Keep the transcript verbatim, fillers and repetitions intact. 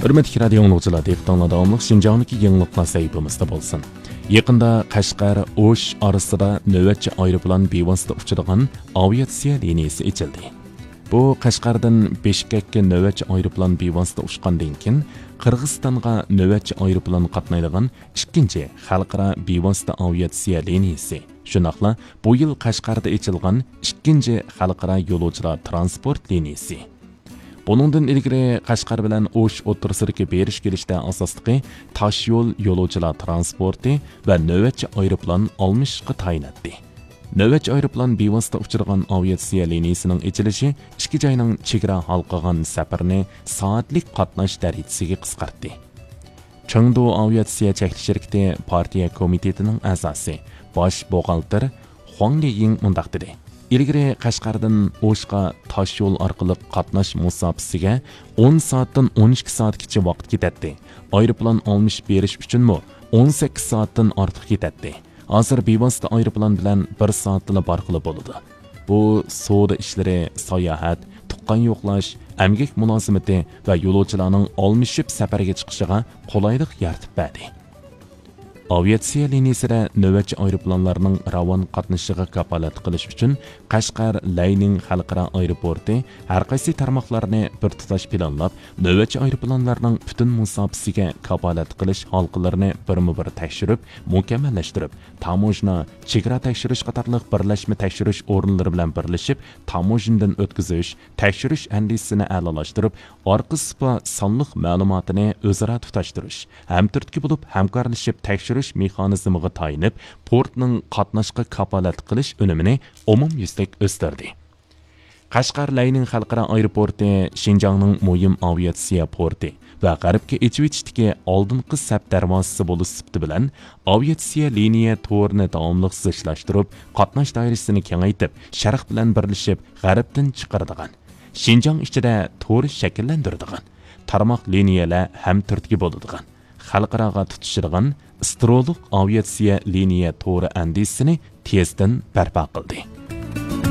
ھۆرمەتلىك رادىيو ئاڭلىغۇچىلار، دىققىتىڭلاردا داۋاملىق شىنجاڭدىكى يېڭىلىقلار سەھىپىمىزدە بولسۇن. يېقىندا قەشقەر ئوش ئارىسىدا نۆۋەتچى ئايروپىلان بىۋاسىتە ئۇچىدىغان ئاۋىئاتسىيە لىنىيىسى ئېچىلدى. بۇ قەشقەردىن بىشكەككە نۆۋەتچى ئايروپىلان بىۋاسىتە ئۇچقاندىن كېيىن، قىرغىزىستانغا نۆۋەتچى ئايروپىلان قاتنايدىغان ئىككىنچى خەلقئارا بىۋاسىتە ئاۋىئاتسىيە لىنىيىسى، شۇنداقلا بۇ يىل قەشقەردە ئېچىلغان ئىككىنچى خەلقئارا يولۇچىلار ترانسپورت لىنىيىسى. بۇنىڭدىن ئىلگىرى قەشقەر بىلەن ئوش ئوتتۇرىسىدىكى بېرىش كېلىشتە ئاساسلىقى تاشيول يولۇچىلار ترانسپورتى ۋە نۆۋەتچى ئايروپىلان ئالمىشىشقا تايىناتتى. نۆۋەتچى ئايروپىلان بىۋاسىتە ئۇچىدىغان ئاۋىئاتسىيە لىنىيىسىنىڭ ئېچىلىشى ئىككى جاينىڭ چېگرا ھالقىغان سەپىرىنى سائەتلىك قاتناش دەرىجىسىگە قىسقارتتى. چېڭدۇ ئاۋىئاتسىيە چەكلىك شىركىتى پارتىيە كومىتېتىنىڭ ئەزاسى، باش بوغالتىر خۇاڭ لىيىڭ مۇنداق دېدى: ئىلگىرى قەشقەردىن ئوشقا تاش يول ئارقىلىق قاتناش مۇساپىسىگە ئون سائەتتىن ئون ئىككى سائەتكىچە ۋاقىت كېتەتتى. ئايروپىلان ئالمىشىپ بېرىش ئۈچۈنمۇ ئون سەككىز سائەتتىن ئارتۇق كېتەتتى. ھازىر بىۋاسىتە ئايروپىلان بىلەن بىر سائەتتىلا بارغىلى بولىدۇ. بۇ سودا ئىشلىرى، ساياھەت، تۇغقان يوقلاش، ئەمگەك مۇلازىمىتى ۋە يولۇچىلارنىڭ ئالمىشىپ سەپەرگە چىقىشىغا قولايلىق يارىتىپ بەردى. ئاۋىئاتسىيە لىنىيىسىدە نۆۋەتچى ئايروپىلانلارنىڭ راۋان قاتنىشىشىغا كاپالەتلىك قىلىش ئۈچۈن، قەشقەر لەينىڭ خەلقئارا ئايروپورتى ھەر قايسى تارماقلارنى بىر تۇتاش پىلانلاپ، نۆۋەتچى ئايروپىلانلارنىڭ پۈتۈن مۇساپىسىگە كاپالەتلىك قىلىش ھالقىلىرىنى بىرمۇ بىر تەكشۈرۈپ، مۇكەممەللەشتۈرۈپ، تاموژنا، چېگرا تەكشۈرۈش قاتارلىق بىرلەشمە تەكشۈرۈش ئورۇنلىرى بىلەن بىرلىشىپ، تاموژنىدىن ئۆتكۈزۈش، تەكشۈرۈش ئەندىزىسىنى ئەلالاشتۇرۇپ، ئارقا سۇپا سانلىق مەلۇماتىنى ئۆزئارا تۇتاشتۇرۇش، ھەمتۈرتكە بولۇپ ھەمكارلىشىپ تەكشۈرۈش مېخانىزمىغا تايىنىپ، پورتنىڭ قاتناشقا كاپالەتلىك قىلىش ئۈنۈمىنى ئومۇميۈزلۈك ئۆستۈردى. قەشقەر لەينىڭ خەلقئارا ئايروپورتى شىنجاڭنىڭ مۇھىم ئاۋىئاتسىيە پورتى ۋە غەربكە ئېچىۋېتىشتىكى ئالدىنقى سەپ دەرۋازىسى بولۇش سۈپىتى بىلەن، ئاۋىئاتسىيە لىنىيە تورىنى داۋاملىق زىچلاشتۇرۇپ، قاتناش دائىرىسىنى كېڭەيتىپ، شەرق بىلەن بىرلىشىپ غەربتىن چىقىرىدىغان، شىنجاڭ ئىچىدە تور شەكىللەندۈرىدىغان، تارماق لىنىيەلەر ھەمتۈرتكە بولىدىغان، خەلقئاراغا تۇتىشىدىغان ئىسترولۇق ئاۋىئاتسىيە لىنىيە تورى ئەندىزىسىنى تېزدىن بەرپا قىلدى.